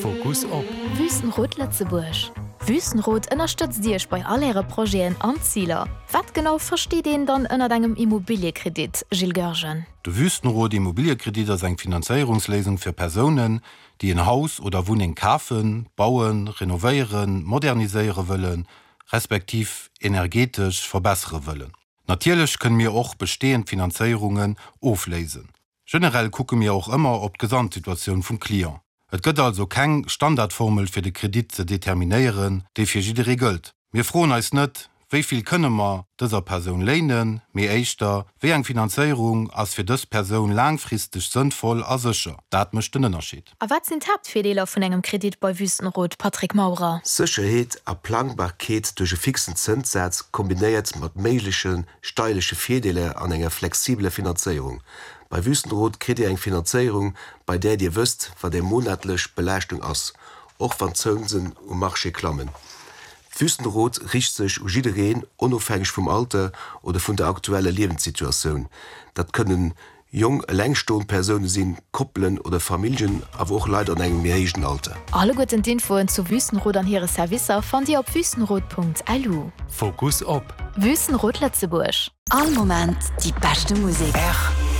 Fokus op. Wüstenrot Lëtzebuerg. Wüstenrot ënnerstëtzt Iech bei all Äre Projeten an Ziler. Wat genau versteet een dann ënnert engem Immobiliëkredit, Gilles Goergen? De Wüstenrot Immobiliëkredit ass eng Finanzéierungsléisung fir Persounen, déi en Haus oder Wunneng kafen, bauen, renovéieren, moderniséiere wëllen, respektiv energetesch verbessere wëllen. Natierlech kënne mir och bestehend Finanzéierungen ofléisen. Generell kucke mir och ëmmer op d'Gesamtsituatioun vum Client. Et gëtt also keng Standardformel fir de Kredit ze determinéieren, déi fir jidderee gëllt. Mir froen eis net, wéi vill kënne mer dëser Persoun léinen, mee éischter, wéi eng Finanzéierung ass fir dës Persoun laangfristeg sënnvoll a sécher. Dat mécht den Ënnerscheed. A wat sinn d'Haaptvirdeeler vun engem Kredit bei Wüstenrot, Patrick Maurer? Sécherheet a Plangbarkeet duerch e fixen Zënssaz kombinéiert mat méigleche steierleche Virdeeler an enger flexibeler Finanzéierung. Bei Wüstenrot kritt Dir eng Finanzéierung, bei där Dir wësst, wat Är monatlech Belaaschtung ass, och wann d'Zënsen um Marché klammen. Wüstenrot riicht sech u jiddereen, onofhängeg vum Alter oder vun der aktueller Liewenssituatioun. Dat kënnen jonk elengstoend Persoune sinn, Koppelen oder Familljen, awer och Leit an engem méi héijen Alter. Alleguerten d'Infoen zu Wüstenrot an hire Servicer fannt Dir op wüstenrot.lu. Fokus op. Wüstenrot Lëtzebuerg. All Moment déi beschte Musek.